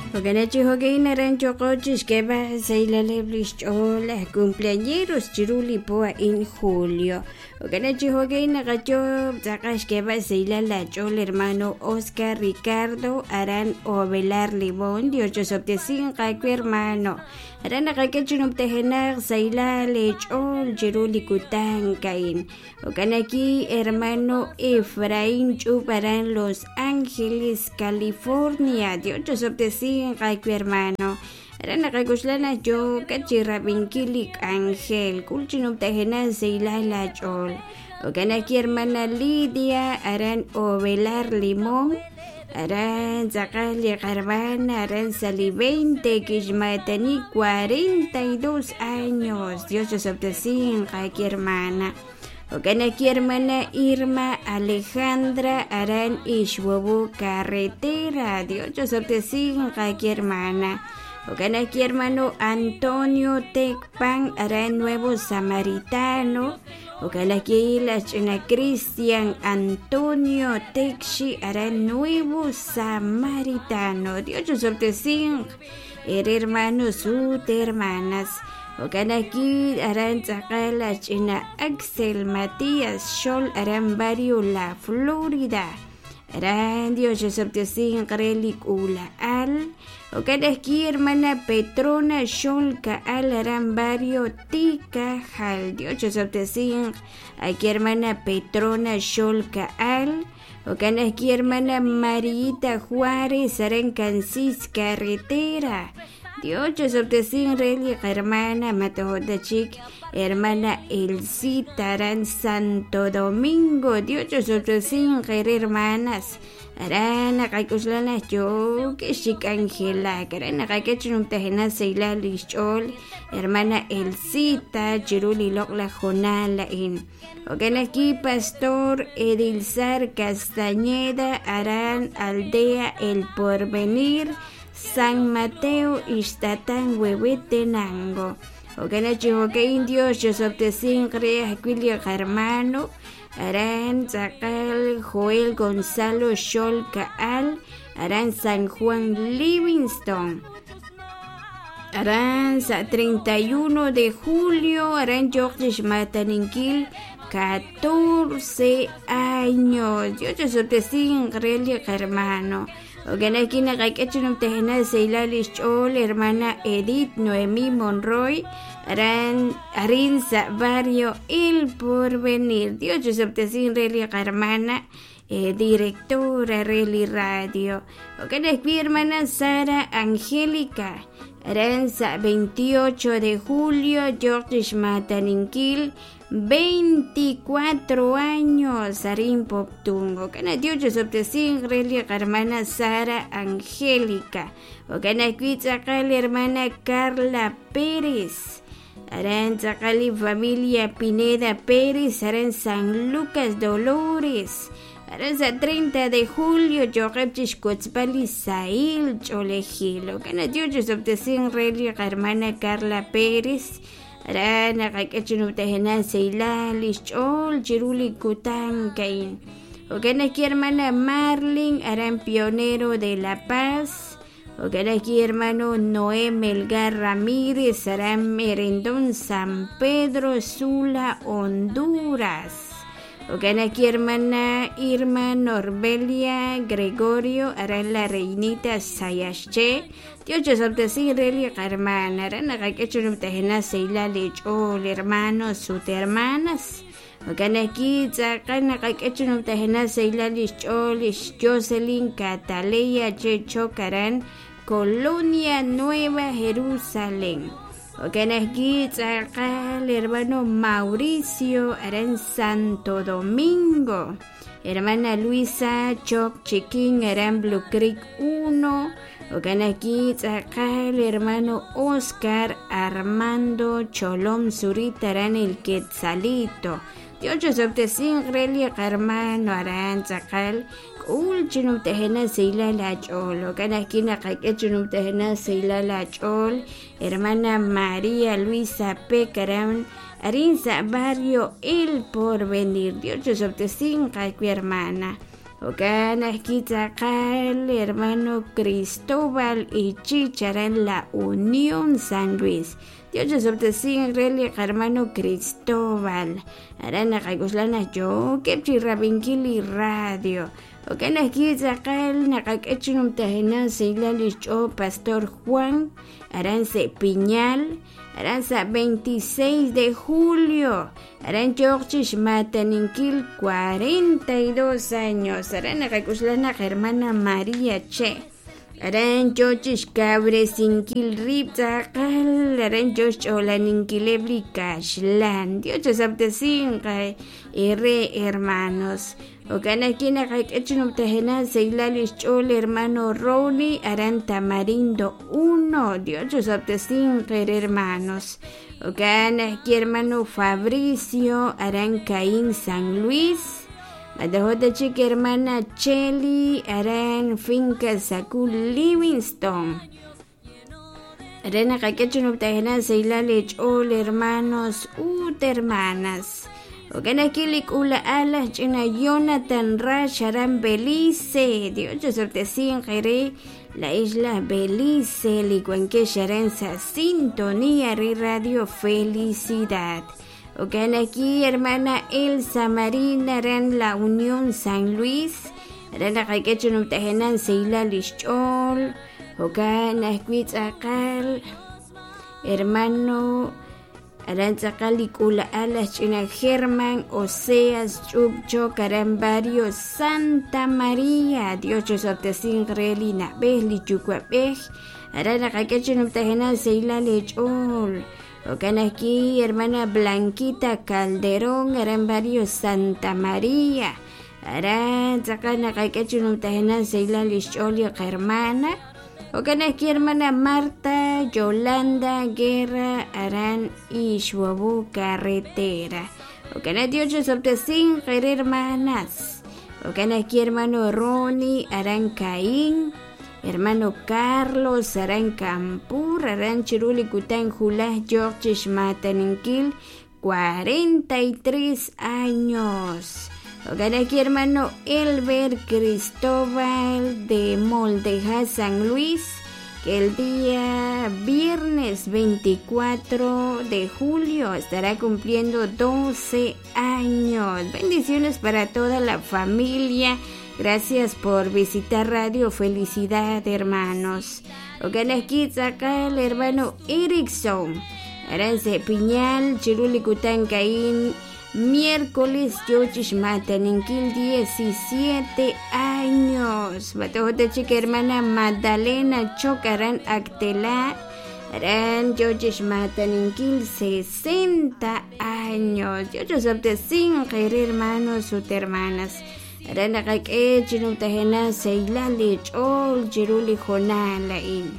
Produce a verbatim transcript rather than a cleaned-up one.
Jo'kan chi jo'kan aran yoqo chixk'eeb'al saylaleb' lix ch'ool aj cumpleañeros chiru li po a'in julio. Jo'kan chi jo'kan naqayob' tz'aqal xk'eeb'al saylal la ch'ool hermano Oscar Ricardo aran Ovelar Limón. Dios chosob'tesinq aawe hermano. Aran naqak'e chinub'tejenaq saylal ch'ool chiru li kutan ka'in. Jo'kan aquí hermano Efraín Ch'up aran Los Ángeles, California. Dios chosob'tesinq aawe hermano. Aran naqak'uxlana yookat chi rab'inkil li k'anjel k'ul chinub'tejenaq saylal la ch'ool. Jo'kan aquí hermana Lidia aran Ovelar Limón. Aran tz'aqal li qarmana aran sali veinte kixmatani cuarenta y dos años. Dios chosob'tesinq aquí hermana. Jo'kan aquí hermana Irma Alejandra aran Ixhuevo Carretera. Dios chosob'tesinq aquí hermana. Jo'kan aquí hermano Antonio Tecpan aran Nuevo Samaritano. Jo'kan aquí la ch'ina Cristian Antonio Texi aran Nuevo Samaritano. Dios chosob'tesinq er hermanos ut hermanas. Jo'kan aquí aran tz'aqal la ch'ina Axel Matías Xol aran barrio La Florida. Aran Dios chosob'tesinq re li k'ula'al. Jo'kan aquí hermana Petrona Xol Ka'al aran barrio Tikajal. Dios chosob'tesinq aquí hermana Petrona Xol Ka'al. Jo'kan aquí hermana Marita Juárez aran Cansis Carretera. Dios chosob'tesinq re li hermana Matohotachik hermana Elcita aran Santo Domingo. Dios chosob'tesinq re hermanas. Aran naqak'uxlana yo k'ixik Angela aran naqak'ech numtajena saylal lix ch'ool hermana Elcita chiru li loq la jonal la'in. Jo'kan aquí pastor Edilzar Castañeda aran Aldea El Porvenir San Mateo Ixtatán Huehuetenango. Jo'kan chi jo'kan Dios chosob'tesinq re ajwi' li hermano aran tz'aqal Joel Gonzalo Xol Ka'al aran San Juan Livingston. Aran sa treinta y uno de julio aran yoq chixmataninkil catorce años. Dios chosob'tesinq re li hermano. Jo'kan aquí naqak'e chinub'tejena saylal lix ch'ool hermana Edith Noemí Monroy aran arin sa barrio El Porvenir. Dios chosob'tesinq re li hermana eh, directora re li radio. Jo'kan aquí hermana Sara Angélica aran sa veintiocho de julio yoq chixmataninkil veinticuatro años arin Poptungo. Jo'kan Dios chosob'tesinq re li hermana Sara Angélica. Jo'kan aquí tz'aqal hermana Carla Pérez aran tz'aqal li familia Pineda Pérez aran San Lucas Dolores. Aran sa treinta de julio yoqeb chixkotzpal li sahil ch'oolejil. Jo'kan Dios chosob'tesinq re li hermana Carla Pérez. Aran naqak'e chinub'tejena saylal lix ch'ool chiru li kutan ka'in. Jo'kan aquí hermana Marlin aran Pionero de La Paz. Jo'kan aquí hermano Noé Melgar Ramírez aran Merendón San Pedro Sula, Honduras. Jo'kan aquí hermana Irma Norbelia Gregorio aran La Reinita Sayasche. Dios chosob'tesinq re li hermana aran naqak'e chinub'tejena saylal li ch'ool hermanos ut hermanas. Jo'kan aquí tz'aqal naqak'e chinub'tejena saylal lix ch'ool lix Jocelyn Cataleya Chechok aran Colonia Nueva Jerusalén. Jo'kan aquí tz'aqal hermano Mauricio aran Santo Domingo. Hermana Luisa Choc Chiquín aran Blue Creek uno. Jo'kan aquí tz'aqal hermano Oscar Armando Cholom Zurita aran El Quetzalito. Dios chosob'tesinq re li hermano aran tz'aqal k'ul chinub'tejena saylal la ch'ool. Jo'kan aquí naqak'e chinub'tejena saylal la ch'ool hermana María Luisa Peck aran arin sa barrio El Porvenir. Dios chosob'tesinq aawe hermana. Jo'kan ajwi' tz'aqal hermano Cristóbal Ichich aran La Unión San Luis. Dios chosob'tesinq re li hermano Cristóbal. Aran naqak'uxla naq yookeb' chi rab'inkil li radio. Jo'kan ajwi' tz'aqal naqak'e chi numtajenaq sahilal li xch'ool Pastor Juan aran se Piñal aran sa veintiséis de julio aran yooq chi xmataninkil cuarenta y dos años aran naqak'uxla naq hermana María Che aran yoo chi xkawresinkil rib' tz'aqal aran yoo xch'oolaninkileb' li kaxlan. Dios chosab'tesinq re hermanos. Jo'kan ajwi' naqak'e chi numtajenaq sahilal li xch'ool hermano Ronnie aran Tamarindo uno. Dios chosab'tesinq re hermanos. Jo'kan ajwi' hermano Fabricio aran Caín San Luis. Madajota chik hermana Cheli aran Finca Sacul Livingston. Aran naqak'e chi numtajenaq sahilal li xch'ool hermanos ut hermanas. Jo'kan ajwi' li k'ula'al aj ch'ina Jonathan Rash aran Belice. Dios chosab'tesinq re la isla Belice li wankex aran sa sintonía re Radio Felicidad. Jo'kan ajwi' hermana Elsa Marina aran La Unión San Luis. Aran naqak'e chi numtajenaq sahilal li xch'ool. Jo'kan ajwi' tz'aqal hermano aran tz'aqal li k'ula'al aj ch'ina Germán Oseas Ch'ubchok aran barrio Santa María. Dios chosab'tesinq re li na'b'ej li yuwa'b'ej aran naqak'e chi numtajenaq sahilal li xch'ool. Jo'kan ajwi' hermana Blanquita Calderón aran barrio Santa María. Aran tz'aqal naqak'e chi numtajenaq sahilal li xch'ool li hermana. Jo'kan ajwi' hermana Marta Yolanda Guerra aran Ixhuabu Carretera. Jo'kan Dios chosab'tesinq re hermanas. Jo'kan ajwi' hermano Ronnie aran Caín. Hermano Carlos aran Campur aran chiru li kutan julaj yooq chi xmataninkil cuarenta y tres años. Jo'kan ajwi' hermano Elber Cristóbal de Moldeja San Luis, que el día viernes veinticuatro de julio estará cumpliendo doce años. Bendiciones para toda la familia. Gracias por visitar Radio Felicidad, hermanos. Jo'kan ajwi' tz'aqal hermano Erickson aran se Piñal chiru li kutan Caín miércoles yochish mataninkil diecisiete años. Batojota chica hermana Magdalena Chocaran Actelá aran yochish mataninkil sesenta años. Yochosabtesinq hermanos ut hermanas. Aran naqak'e chi numtajenaq sahilal li ch'ool chiru li jonal a'in.